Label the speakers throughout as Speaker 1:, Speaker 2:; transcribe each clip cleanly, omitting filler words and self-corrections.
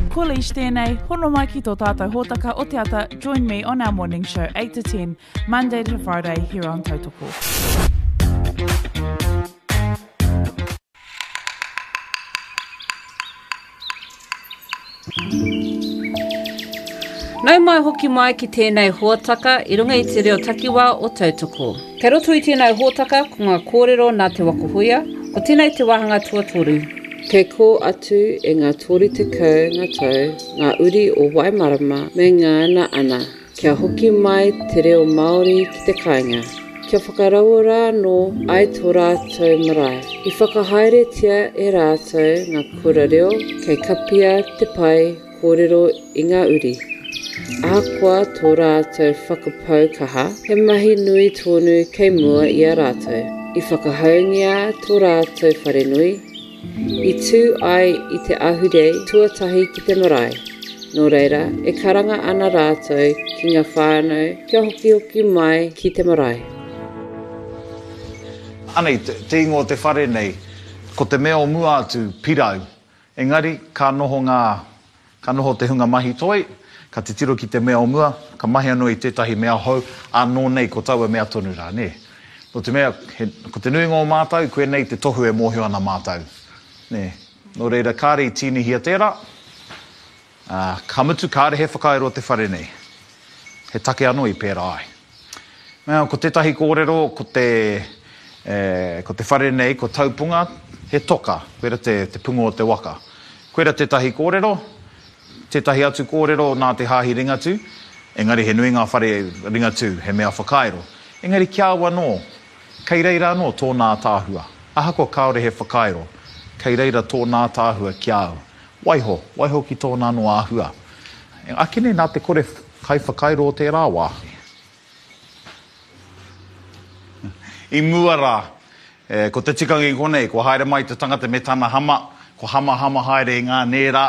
Speaker 1: Ko Leish tēnei, hono mai ki tō tātou hōtaka o te ata, join me on our morning show 8 to 10, Monday to Friday here on Tautoko.
Speaker 2: Nau mai hoki mai ki tēnei hōtaka i runga i te reo takiwā o Tautoko. Kei roto i tēnei hōtaka ko ngā kōrero nā Te Waka Huia, ko tēnei te wāhanga tuatoru.
Speaker 3: Kei kō atu e ngā 30 ngā tau ngā uri o Waimarama me ngana ana. Kia hoki mai te reo Māori ki te kāinga, kia whakarauora anō ai tō rātou marae. I whakahaeretia e rātou ngā kura reo kei kapia te pae kōrero i ngā uri. Ahakoa tō rātou whakapau kaha, he mahi nui tonu kei mua i a rātou. I whakahaungia tō rātou wharenui, I tū ai i te ahurei tuatahi ki te marae, nō reira, e karanga ana rātou ki ngā whānau kia hokihoki mai ki te marae.
Speaker 4: Anei, te ingoa o te whare nei, ko te mea o mua atu, Pirau. Engari, ka noho ngā, ka noho te hunga mahi toi, ka titiro ki te mea o mua, ka mahi anō i tētahi mea hou, ānō nei ko taua mea tonu rā, nē. Nō te mea, he, ko te nuinga o mātou, koinei te tohu e mōhio ana mātou, nē. Nō reira, kāre i tīnihia tērā, ā, ka mutu kāre he whakairo te whare nei. He take anō i pērā ai. Now, ko tētahi kōrero, ko te, e, ko te whare nei, ko Taupunga, he toka, koira te, te punga o te waka. Koira tētahi kōrero, tētahi atu kōrero nā te Hāhi Ringatū, engari he nui ngā whare Ringatū, he mea whakairo. Engari ki a au anō, kei reira anō tōna ātaahua. Ahakoa kāore he whakairo, kei reira tōna ātaahua ki a au. Waiho, waiho ki tōna anō āhua. Akene nā te kore kaiwhakairo o tērā wā. I mua rā, ko te tikanga i konei, kua haere mai te tangata me tana hama, kua hamahama haere i ngā nēra,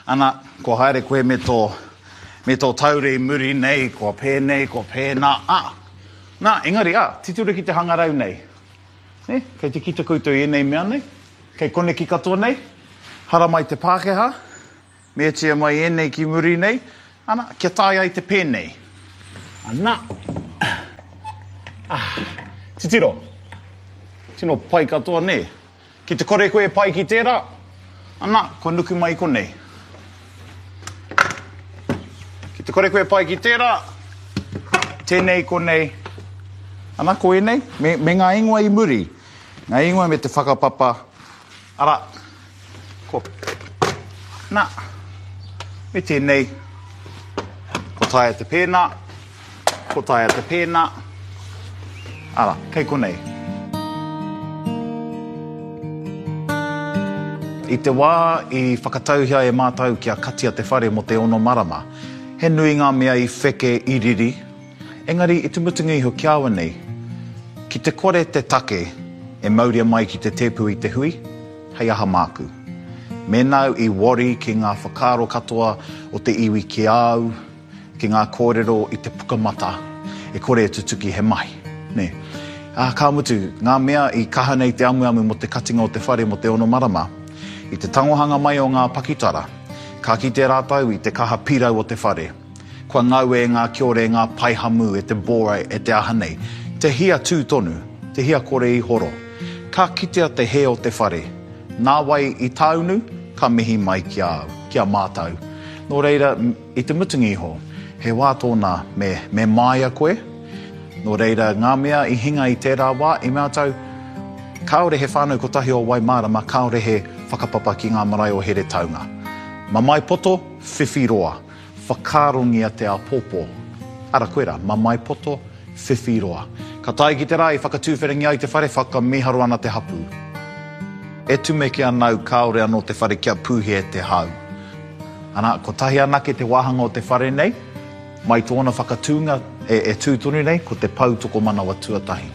Speaker 4: ana, kua haere koe me tō, me tō taure i muri nei, kua pēnei, kua pēnā, ā. Nā, engari, ā, titiro ki te hangarau nei. Nē, kei te kite koutou i ēnei mea nei? Kei koneki katoa nei? Haramai te Pākehā, Meatia mai ēnei ki muri nei, ana, kia taea ai te pēnei. Ana. Ah. Titiro. Tino pai katoa, nē? Ki te kore koe e pai ki tērā, ana, kua nuku mai i konei. Ki te kore koe e pai ki tērā, tēnei konei, ana, ko ēnei, me, me ngā ingoa i muri. Ngā ingoa me te whakapapa, arā, Ko, nā, me tēnei, ko taea te pēnā, ko taea te pēnā, arā, kei konei. I te wā i whakatauhia e mātou kia katia te whare mō te ono marama, he nui ngā mea i wheke, i riri, engari i te mutunga iho ki a au nei, ki te kore te take e mauria mai ki te tēpu i te hui, Hei aha māku? Mēnā au i worry ki ngā whakaaro katoa o te iwi ki a au, ki ngā kōrero i te pukamata, e kore e tutuki he mahi, nē. Ā, ka mutu, ngā mea i kaha nei te amuamu mō te katinga o te whare mō te ono marama, i te tangohanga mai o ngā pakitara, ka kite rātou i te kaha pirau o te whare. Kua ngaue e ngā kiore, e ngā paihamu, e te bore, e te aha nei. Te hia tū tonu, te hia kore i horo. Ka kitea te hē o te whare. Nāwai i tāunu, ka mihi mai ki a au, ki a mātou. Nō reira, i te mutunga iho, he wā tōna me, me māia koe. Nō reira, ngā mea i hinga i tērā wā, i mātou, kāore he whānau kotahi o Waimārama, kāore he whakapapa ki ngā marae o Heretaunga. Mamae poto, whiwhi roa. Whakaarongia te āpōpō. Ara koirā, mamae poto, whiwhi roa. Ka tae ki te rā i whakatūwherangia ai te whare, whakamīharo ana te hapū. E tumeke ana au kāore anō te whare kia pūhia e te hau. Ana, kotahi anake te wāhanga o te whare nei, mai tōna whakatūnga e, e tū tonu nei, ko te pou tokomanawa tuatahi.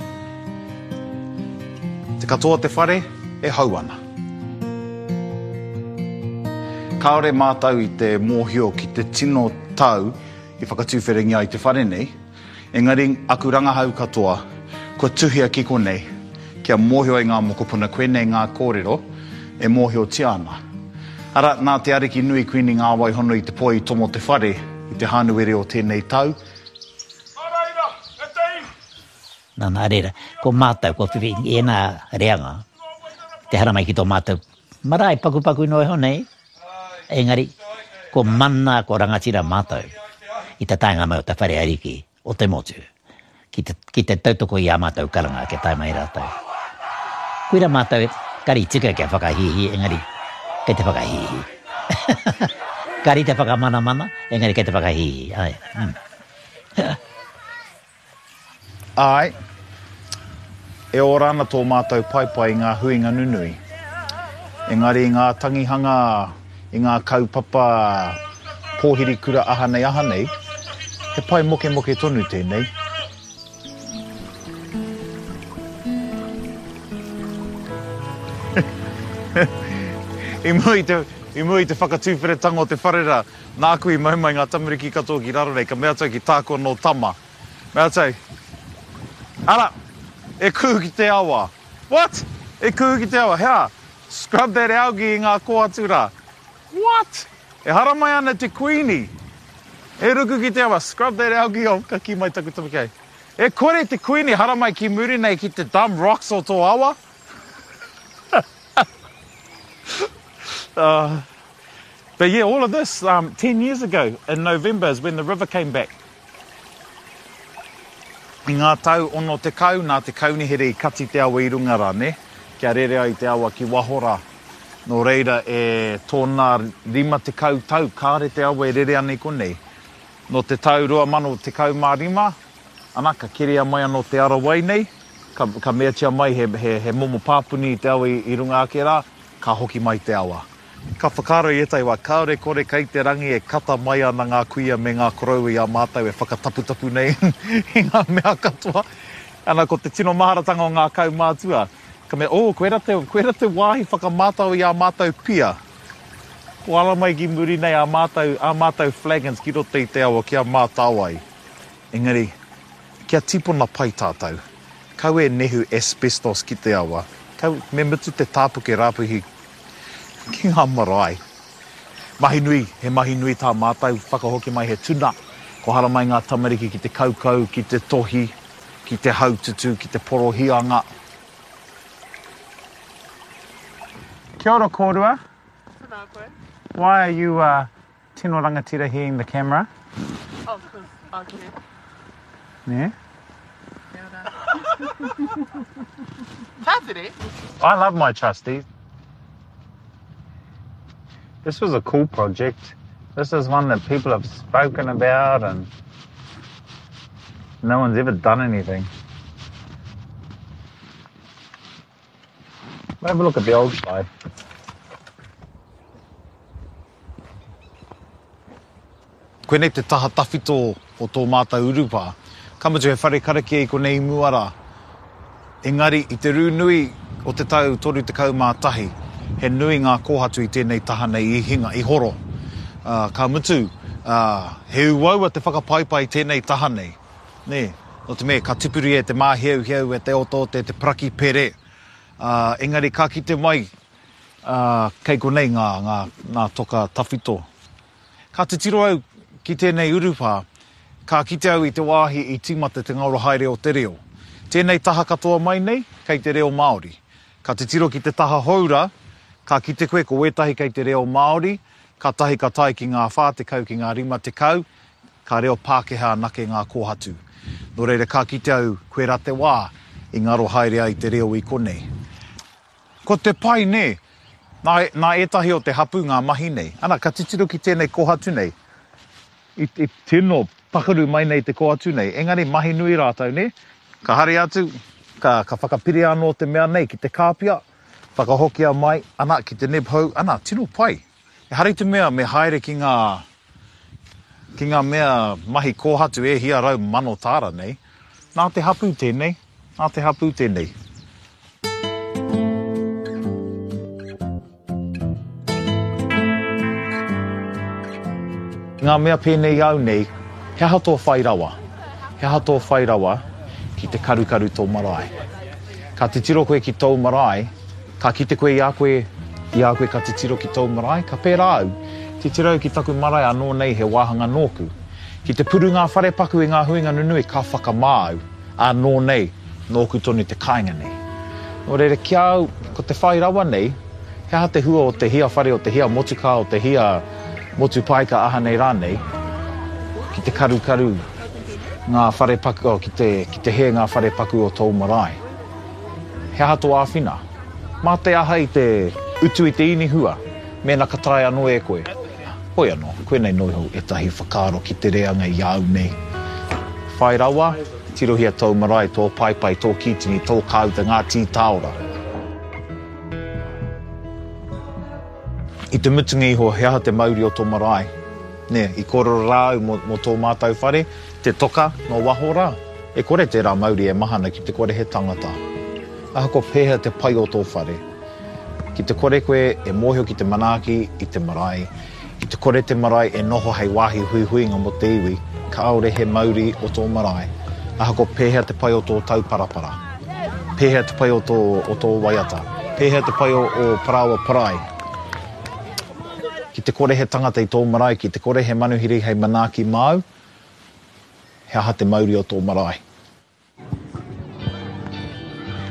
Speaker 4: Te katoa o te whare e hau ana. Kāore mātou i te mōhio ki te tino tau i whakatūwherangia ai te whare nei, engari aku rangahau katoa kua tuhia ki konei kia mōhio ai ngā mokopuna koinei ngā kōrero e mōhiotia ana. Arā, nā te Ariki nui Kuini Ngāwaihono i te poi i tomo te whare i te Hānuere o tēnei tau.
Speaker 5: Nō reira, e te iwi.
Speaker 6: Nā, nā reira, ko mātou, kua whiwhi i ēnā reanga, te haramai ki tō mātou marae pakupaku noa iho nei, engari, ko mana, ko rangatira mātou i te taenga mai o te whare ariki o te motu ki te, ki te tautoko i ā mātou karanga kia tae mai rātou. Koira mātou, kari tika kia whakahīhī, engari kei te whakahīhī. Kari te whakamanamana, engari kei te whakahīhī, āe. Mm.
Speaker 4: Āe, e ora ana tō mātou paepae i ngā huinga nunui. Engari i ngā tangihanga, i ngā kaupapa pōhiri kura aha nei aha nei, he pae mokemoke tonu tēnei. I mua i te, i mua i te whakatuwheratanga o te whare rā, nāku i mau mai ngā tamariki katoa ki raro nei, ka mea atu au ki tāku anō tama, Mea atu, Ara! E kuhu ki te awa! What? E kuhu ki te awa? Hea? Scrub that algae i ngā kōhatu rā. What? E haramai ana te Kuini! E ruku ki te awa, scrub that algae off, ka kī mai taku tama ki a ia. E kore te Kuini haramai ki muri nei ki te dumb rocks o tō awa? uh, but yeah, all of this, um, 10 years ago in November is when the river came back. I ngā tau 60, nā te kaunihere i kati te awa i runga rā, nē, kia rere ai te awa ki waho rā. Nō reira, e tōna 50 tau kāre te awa e rere ana i konei. Nō te tau 2015, ana, ka keria mai anō te ara wai nei, ka, ka meatia mai he, he, he momo pāpuni i te awa i, i runga ake rā, ka hoki mai te awa. Ka whakaaro i ētahi wā, kāore kore kei te rangi e kata mai ana ngā kuia me ngā koroua i a mātou e whakataputapu nei i ngā mea katoa. Ana, ko te tino maharatanga o ngā kaumātua, ka mea, oh, koira te, koira te wāhi whakamātau i ā mātou pia. Kua ara mai ki muri nei ā mātou, ā mātou flagons ki roto i te awa kia mātao ai. Engari, kia tīpona pai tātou. Kau e nehu asbestos ki te awa. Kau, me mutu te tāpuke rāpuhi Ki ngā marae. Mahi nui, he mahi nui tā mātou whakahoki mai he tuna. Kua haramai ngā tamariki ki te kaukau, ki te tohi, ki te haututu, ki te porohianga. Kia ora kōrua.
Speaker 1: Tēnā koe.
Speaker 4: Why are you uh, tino rangatira here in the camera?
Speaker 1: Oh, cause I can.
Speaker 4: Yeah.
Speaker 1: Kia ora. Tātere?
Speaker 4: I love my trusty. This was a cool project. This is one that people have spoken about and no one's ever done anything. Have a look at the old side. Koinei te taha tawhito o tō mātou urupā. Ka mutu he whare karakia i konei i mua rā. Engari i te rū nui o te tau 31, he nui ngā kōhatu i tēnei taha nei i hinga, i horo. Ka mutu, he uaua te whakapaipai i tēnei taha nei. Nē, nō te mea ka tipuria e te māheuheu, e te otaota, e te parakipere. Engari ka kite mai, kei konei ngā, ngā, ngā toka tawhito. Ka titiro au ki tēnei urupā, ka kite au i te wāhi i tīmata te ngaro haere o te reo. Tēnei taha katoa mai nei, kei te reo Māori. Ka titiro ki te taha hou rā, ka kite koe ko wētahi kei te reo Māori, kātahi ka tae ki ngā 40 ki ngā 50, ka reo Pākehā anake ngā kōhatu. Nō reira ka kite au koirā te wā i ngaro haere ai te reo i konei. Ko te pai nē, nā, nā ētahi o te hapū ngā mahi nei. Ana, ka titiro ki tēnei kōhatu nei, i, i tino pakaru mai nei te kōhatu nei, engari mahi nui rātou nē. Ka haere atu, ka, ka whakapiria anō te mea nei ki te kāpia, whakahokia mai, ana, ki te neb hou, ana, tino pai. Ehara i te mea me haere ki ngā, ki ngā mea mahi kōhatu e hia 100,000 tāra nei. Nā te hapū tēnei, nā te hapū tēnei. Ngā mea pēnei i au nei, he aha tō whai rawa? He aha tō whai rawa ki te karukaru tō marae? Ka titiro koe ki tōu marae, ka kite koe i a koe. I a koe ka titiro ki tōu marae, ka pērā au. Titiro au ki taku marae anō nei he wāhanga nōku. Ki te puru ngā wharepaku i ngā huinga nunui, ka whakamā au, anō nei, nōku tonu te kāinga nei. Nō reira, ki a au, ko te whai rawa nei, he aha te hua o te hia whare, o te hia motukā, o te hia motu paika aha nei rānei, ki te karukaru ngā wharepaku, oh, ki te, ki te hē ngā wharepaku o tōu marae. He aha tō āwhina? Mā te aha i te utu i te inihua, mēnā ka taea anō e koe? Hoi anō, koinei noa iho ētahi whakaaro ki te reanga i a au nei. Whai rawa, tirohia tōu marae, tō paepae, tō kītini, tō kāuta, ngā tī tāora. I te mutunga iho, he aha te mauri o tō marae? Nē, i kōrero rā au mō, mō tō mātou whare, te toka nō waho rā. E kore tērā mauri e mahana ki te kore he tangata. Ahakoa pēhea te pai o tō whare, ki te kore koe e mōhio ki te manaaki i te marae, ki te kore te marae e noho hei wāhi huihuinga mō te iwi, kāore he mauri o tō marae, ahakoa pēhea te pai o tō tauparapara, pēhea te pai o tō, o tō waiata, pēhea te pai o, o parāoa parai. Ki te kore he tangata i tō marae, ki te kore he manuhiri hei manaaki māu, he aha te mauri o tō marae?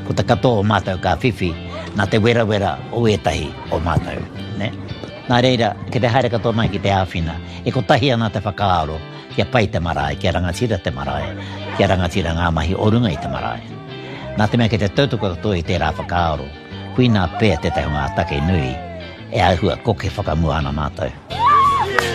Speaker 6: Ko te katoa o mātou ka whiwhi nā te werawera o ētahi o mātou, nē. Nā reira, ki te haere katoa mai ki te āwhina, e kotahi ana te whakaaro kia pai te marae, kia rangatira te marae, kia rangatira ngā mahi o runga i te marae. Nā te mea kei te tautoko katoa i tērā whakaaro, koinā pea tētahi o ngā take nui e āhua koke whakamua ana mātou.